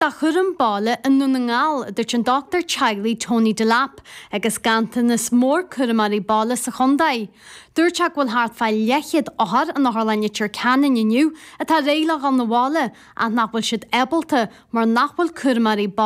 Do chúram baile i nDún na nGall, a dúirt an dochtúir teaghlaigh Tony Delap, agus ganntanas mór cúramóirí baile sa chontae. Dúirt sé go bhfuil thart fá leathchéad othar in Otharlann Leitir Ceanainn inniu atá réidh le dhul 'na bhaile ach nach bhfuil siad ábalta mar nach bhfuil cúramóirí baile.